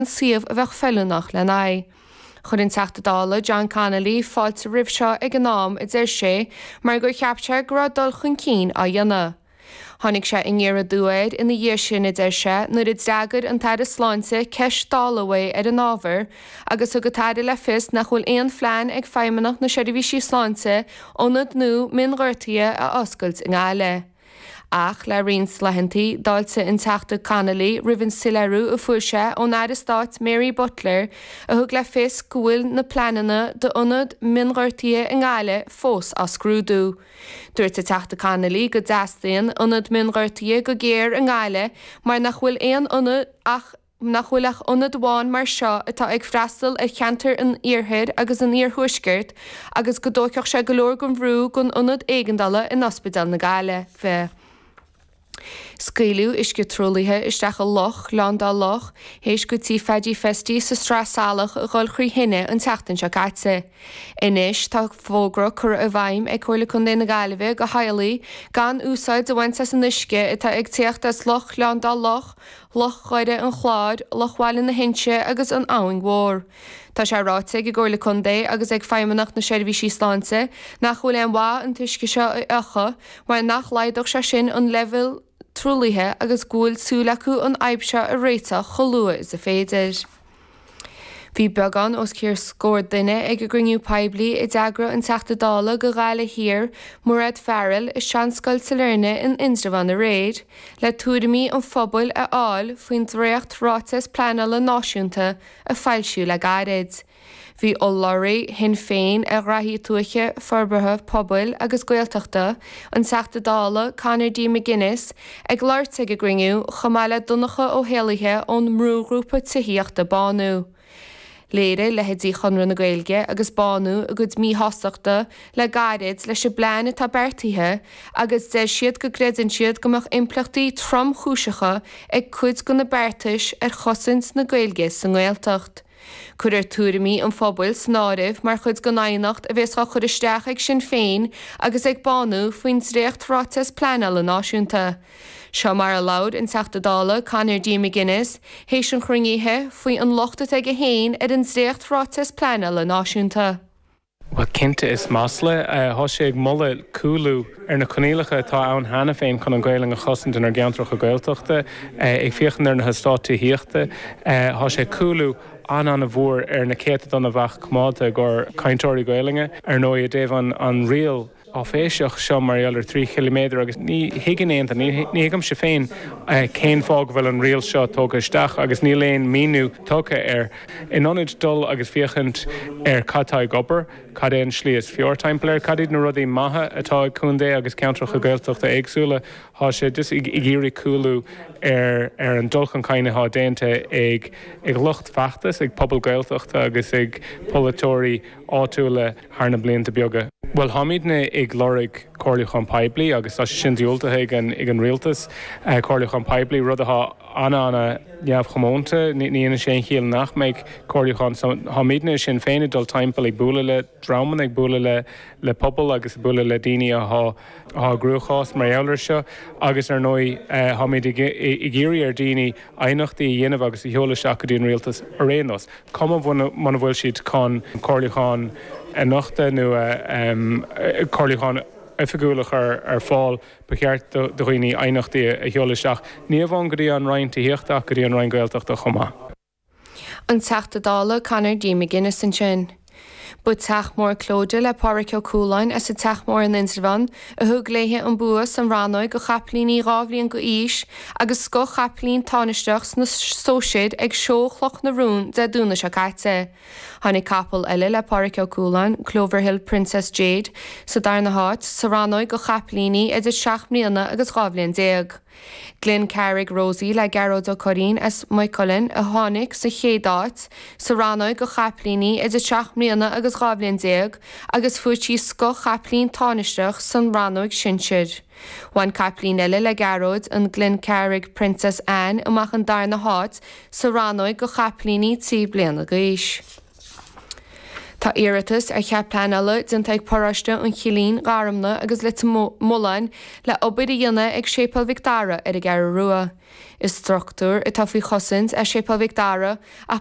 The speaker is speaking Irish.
Suíomh a bheadh feiliúnach lena aghaidh. Chuir an Teachta Dála John Connolly fáilte roimh seo ag an am, a deir sé, mar gur cheap sé go raibh dul chun cinn á dhéanamh. Tháinig sé aniar aduaidh air ina dhiaidh sin, a deir sé, nuair a d'fhreagair an tAire Sláinte ceist Dála uaidh ar an ábhar agus thug an tAire le fios nach bhfuil aon phlean ag Feidhmeannacht na Seirbhísí Sláinte ionad nua mionghortuithe a oscailt i nGaillimh. Ach le roinnt laethanta, d'fháiltigh an Teachta Connolly roimh an soiléiriú a fuair sé ón Aire Stáit Mary Butler a thug le fios go bhfuil na pleananna d'ionad mionghortuithe i nGaillimh fós á scrúdú. Dúirt an Teachta Connolly go dteastaíonn ionad mionghortuithe go géar i nGaillimh mar nach bhfuil aon ionad ach nach bhfuil ach ionad amháin mar seo atá ag freastal ar cheantar an iarthair agus an iarthuaiscirt agus go dtógfadh sé go leor den bhrú den ionad éigeandála in Ospidéal na Gaillimhe. Scaoileadh uisce truaillithe isteach i loch, Gleann Dá Loch, théis go Tí Phaidí Festy sa Sraith Salach a dhul thrí thine an tseachtain seo caite. Anois tá fógra curtha i bhfeidhm ag Comhairle Contae na Gaillimhe go theaghlaigh gan úsáid a bhaint as an uisce atá ag tíocht as Loch Ghleann Dá Loch, Loch Dhoire an Chláir, Loch Bhaile na hInse agus an Abhainn Mhór. Tá sé ráite ag an gComhairle Contae agus ag Feidhmeannacht na Seirbhísí Sláinte nach bhfuil aon mhaith an t-uisce seo a fhiuchadh mar nach laghdódh sé sin an leibhéal truaillithe agus go bhfuil súil acu an fhadhb seo a réiteach chomh luath is a féidir. Bhí beagán os cionn scór duine ag an gcruinniú poiblí a d'eagraigh an Teachta Dála go Ghaillimh Thiar, Mairéad Farrell, i Seanscoil Sailearna in Indreabhán aréir, le tuairimí an phobail a fháil faoin dréacht-Ráiteas Pleanála Náisiúnta a foilsíodh le gairid. Bhí urlabhraí Shinn Féin ar Ghraithí Tuaithe, Forbartha Pobail agus Gaeltachta, an Teachta Dála Conor D. McGuinness, ag labhairt ag an gcruinniú, chomh maith le Donncha Ó hÉallaithe ón mbrúghrúpa tithíochta Bánú. Léirigh leithéidí Chonradh na Gaeilge agus Bánú a gcuid míshástachta le gairid leis an bplean atá beartaithe agus deir siad go gcreideann siad go mbeadh impleachtaí tromchúiseacha ag cuid de na beartais ar chosaint na Gaeilge sa nGaeltacht. Cuirfear tuairimí an phobail san áireamh mar chuid den aighneacht a bheas á chur isteach ag Sinn Féin agus ag Bánú faoin dréacht-Ráiteas Pleanála Náisiúnta. Seo mar a labhair an Teachta Dála Conor D. McGuinness théis an chruinnithe faoi an locht atá aige féin ar an dréacht-Ráiteas Pleanála Náisiúnta. Bhuel, cinnte, is masla. Thá sé ag moladh cúlú ar na coinníollacha atá ann cheana féin chun an Ghaelainn a chosaint inár gceantracha Gaeltachta. Ag féachaint ar na heastáit tithíochta, thá sé ag cúlú an-an-mhór ar na céatadán a bheadh coimeádta i gcomhair cainteoirí Gaelainne. Ar ndóigh, i dtaobh an riail áiféiseach seo mar gheall ar 3 chiliméadar agus ní thuigeann aon duine, ní thuigimse féin cén fáth go bhfuil an riail seo tógtha isteach agus níl aon míniú tugtha air. In ionad dul agus féachaint ar cad tá ag obair, cad é an slí is fearr timpeall air, cad iad na rudaí maithe atá ag contae agus ceantracha Gaeltachta éagsúla, thá sé just ag iarraidh cúlú ar ar an dul chun cinn athá déanta ag ag lucht feachtais, ag pobal Gaeltachta agus ag polaiteoirí áitiúla thar na blianta beaga. Bhuel, táimidne ag lorg comhairliúchán poiblí agus tá sé sin diúltaithe ag an ag an rialtas, comhairliúchán poiblí, rud atá an-an-neamhchomónta. Ní dhéanann sé aon chiall nach mbeidh comhairliúchán. So, táimidne i Sinn Féin ag dul timpeall ag bualadh le dreamanna, ag bualadh le le pobal agus ag bualadh le daoine athá athá i gcruachás mar gheall air seo agus ar ndóigh táimid ag ag iarraidh ar daoine aighneachtaí a dhéanamh agus a sheoladh isteach go dtí an rialtas ar aon nós. Cuma muna bhfuil siad chun comhairliúchán a nochtadh nó comhairliúchán oifigiúil a chur ar fáil, ba cheart do dhaoine aighneachtaí a sheoladh isteach, ní amháin go dtí an Roinn Tithíochta ach go dtí an Roinn Gaeltachta chomh maith. An Teachta Dála Conor D. McGuinness ansin. Ba Teach Mór Clodagh le Pádhraic Ó Cualáin as an Teach Mór in Indreabhán a thug léithe an bua san rannóig go chapaillíní 2 bhliain d'aois agus scoth-chapaillín tánaisteach sna sóisir ag Seó Chloch na Rón Dé Domhnaigh seo caite. Tháinig capall eile le Pádhraic Ó Cualáin, Cloverhill Princess Jade, sa darna háit sa rannóig go chapaillíní idir 7 mbliana agus 12 bhliain. Glencarrig Rosie le Gearóid Ó Curraoin as Maigh Cuilinn a tháinig sa chéad áit sa rannóig go chapaillíní idir 7 mbliana agus 12 bhliain agus fuair sí scoth-chapaillín tánaisteach san rannóig sinsir. Bhain capaillín eile le Gearóid, an Glencarrig Princess Anne amach an darna háit sa rannóig go chapaillíní 3 bliana d'aois. Tá iarratas ar chead pleanála déanta ag paróiste an Chillín, Gharmna agus Leitir Mealláin le obair a dhéanamh ag Séipéal Mhic Dara ar an gCeathrú Rua. Is struchtúr atá faoi chosaint é Séipéal Mhic Dara ach.